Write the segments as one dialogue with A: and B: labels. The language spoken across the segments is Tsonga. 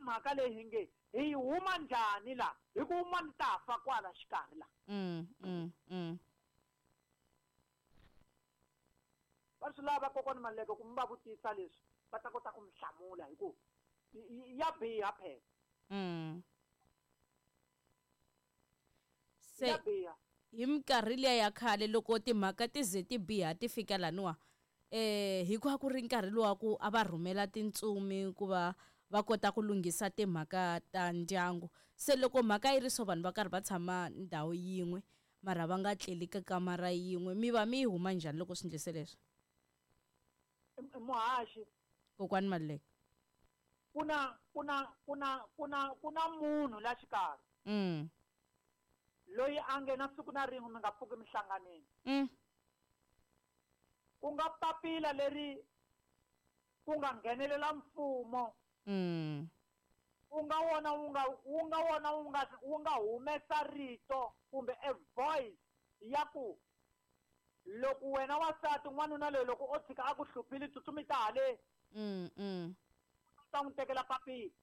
A: mhaka leyi hi nge hi yi huma njhani la hi ku un'wana ta fa kwala xikarhi la. Va swi lava kokwani Maluleke ku mi va vutisa leswi va ta kota ku mi hlamula hi ku ya biha phela.
B: Se
A: Ya biha.
B: hi minkarhi liya ya khale loko timhaka ti ze ti biha ti fika laniwa hikuva ku ri nkarhi lowa ku a va rhumela tintsumi ku va va kota ku lunghisa timhaka ta ndyangu. Se loko mhaka yi ri so vanhu va karhi va tshama ndhawu yin'we mara va nga tleli ka kamara yin'we, mi va mi yi huma njhani loko swi endlise leswi?
A: Muhaxi.
B: Kokwani Maluleke.
A: Ku na, ku na, ku na, ku na, ku na munhu la xikarhi. Loyi a nge na siku na rin'we mi nga pfuki mi hlanganile. Ku nga papila leri ku nga nghenelela mfumo. Wu nga wona wu nga, wu nga wona wu nga, wu nga humesa rito kumbe a voice ya ku loko wena wansati n'wanuna loyi loko o tshika a ku hluphile tsutsumi ta haleni. U ta n'wi tekela papila.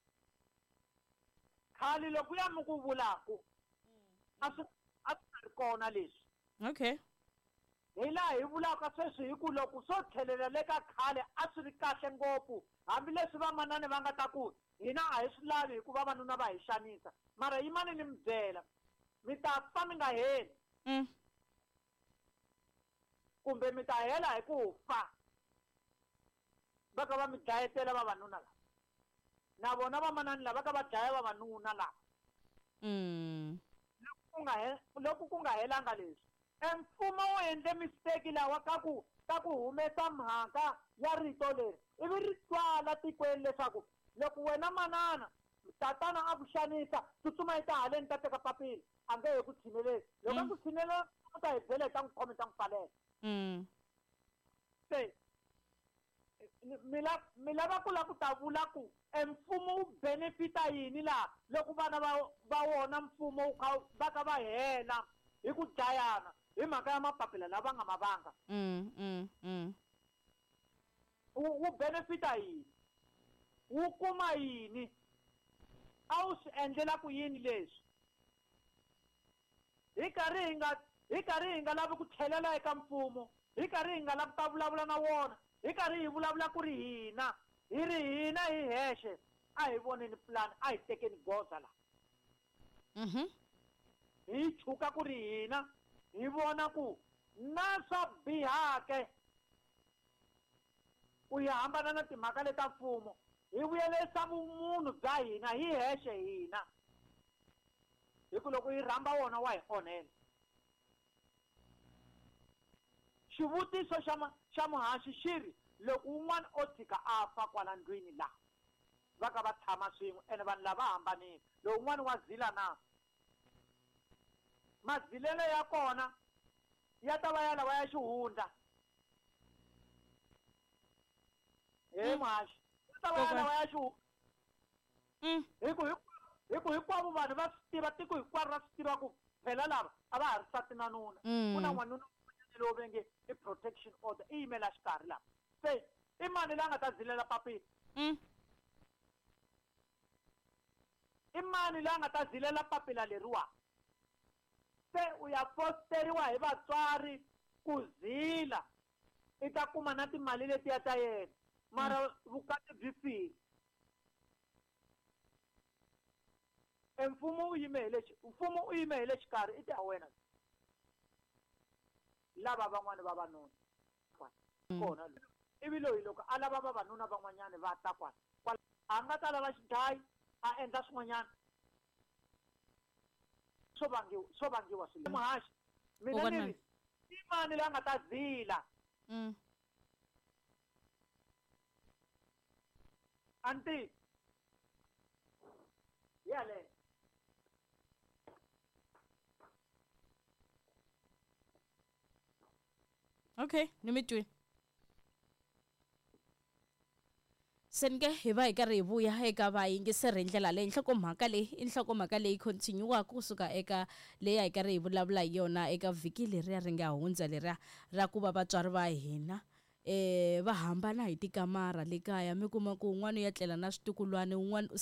A: Khale loko ya mi ku vulaku a swi, a swi nga ri kona leswi. Hi laha hi vulaka sweswi hi ku loko swo tlhelela le ka khale a swi ri kahle ngopfu, hambileswi vamanani va nga ta ku hina a hi swi lavi hikuva vavanuna va hi xanisa, mara yimani ni mi byela, mi ta fa mi nga heli. Kumbe mi ta hela hi ku fa. Va ka va mi dlayetela vavanuna lava. Na vona vamanani lava ka va dlaya vavanuna lava. Loko ku nga he-, loko ku nga helanga leswi, e mfumo wu endle mistake lawa ka ku, ka ku humesa mhaka ya rito leri, ivi ri twala tikweni leswaku loko wena manana tatana a ku xanisa, tsutsuma yi ta haleni ta teka papila, a nge he ku tshineleli. Loko a ku tshinelela, u ta hi byela hi ta n'wi khoma, hi ta n'wi pfalela. Se mi la, mi lava ku la ku ta vula ku e mfumo wu benefita yini laha loko vana va wona mfumo wu kha va ka va hela hi ku dlayana hi mhaka ya mapapila lava nga ma vanga. Wu benefita yini? Wu kuma yini? A wu swi endlela ku yini leswi? Hi karhi hi nga, hi karhi hi nga lavi ku tlhelela eka mfumo, hi karhi hi nga lavi ta vulavula na wona, hi karhi hi vulavula ku ri hina, hi ri hina hi hexe, a hi voneni plan, a hi tekeni goza la. Hi chuka ku ri hina, hi vona ku na swa bihake ku hi hambana na timhaka leta mfumo, hi vuyelisa vumunhu bya hina hi hexe hina. Hi ku loko hi rhamba wona wa hi onhela. Xivutiso xa muhaxi xi ri, loko wun'wana o tshika a fa kwala ndlwini la, va ka va tshama swin'we, ene vanhu lava hambanile, lowu wun'wana wa zila na? Mazilelo ya kona ya ta va ya lawa ya xihundla. He muhaxi, ya ta va ya lawa ya xihundla. Hi ku, hi ku, hi ku hinkwavo vanhu va swi tiva, tiko hinkwaro ra swi tiva ku phela lava a va ha ri nsati na nuna. Ku na n'wanuna un'wanyana lowu va nge i protection order, i yimela xikarhi laha. Se i mani la nga ta zilela papila? I mani la nga ta zilela papila leriwa? Se u ya fosteriwa hi vatswari ku zila, i ta kuma na timali letiya ta yena, mara vukati byi file. E mfumo wu yime hi le xi-, mfumo wu yime hi le xikarhi, i ta wena. Lava van'wani vavanuna kona loyi. Ivi loyi loko a lava vavanuna van'wanyani va ta kwala, kwala a nga ta lava xidlayi, a endla swin'wanyana. Swo vangiwa, swo vangiwa swilo. Muhaxi, mina ni ri, i mani la nga ta zila? Anti. Yale.
B: Okay, ni mi twile. Se ni ke hi va hi karhi hi vuya eka vayingiseri hi ndlela leyi nhlokomhaka leyi i nhlokomhaka leyi continue-aka kusuka eka leyi a hi karhi hi vulavula hi yona eka vhiki leriya ri nga hundza leriya ra ku va vatswari va hina va hambana hi tikamara le kaya, mi kuma ku un'wana u ya tlela na switukulwana, un'wana u